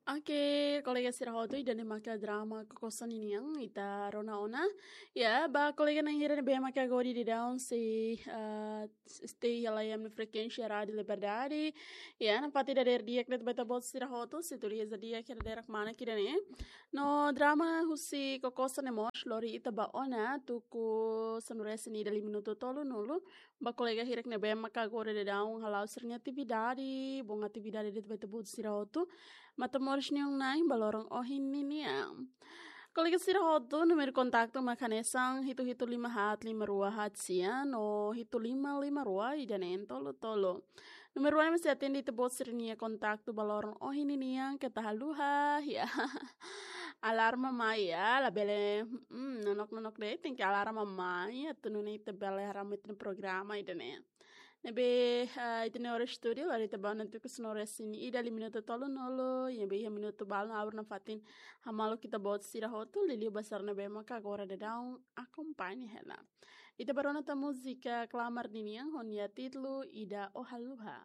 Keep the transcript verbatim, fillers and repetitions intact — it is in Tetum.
Oke, kolega sira hotu, ida-ne'e maka drama Kokosan ninian ita rona ona. Ya, ba kolega na'in hira ne'ebé maka agora daudaun sei, ah, stay iha laiha ema nia frekuénsia Rádio Liberdade. Ya, nafatin dadeer di'ak de'it ba ita-boot sira hotu, sintonia di'ak iha dadeer-saan ida-ne'e. No drama husi Kokosan ne'e mós lori ita ba ona tuku sanulu-resin-ida lima minutu tolunulu. Ba kolega hirak ne'ebé maka agora daudaun hala'o sira-nia atividade, bom atividade de'it ba ita-boot sira hotu. Matan moris nia Na'i ba loron ohin ninian. Kolega sira hotu, númeru kontaktu mak hanesan hitu hitu lima haat lima rua haat sia no hitu lima lima rua ida-neen tolu tolu. Númeru ne'e mós sei atende ita-boot sira-nia kontaktu ba loron ohin ninian, keta haluha, ya. Alarma mai, ya, labele, mm, nonok-nonok de'it, tenke alarma mai, atu nune'e ita bele haree ita-nia programa ida-ne'e. Ne'ebé, ah, ita-nia oras estúdiu, lori ita ba ona tuku sanulu-resin-ida lima minutu tolunulu, ya, ne'ebé iha minutu balu ona ha'u nafatin hamaluk ita-boot sira hotu, liuliu ba sira ne'ebé maka agora daudaun akompaña hela. Ita bá rona tan múzika Klamar ninian, ho nia títulu Ida Ó Haluha.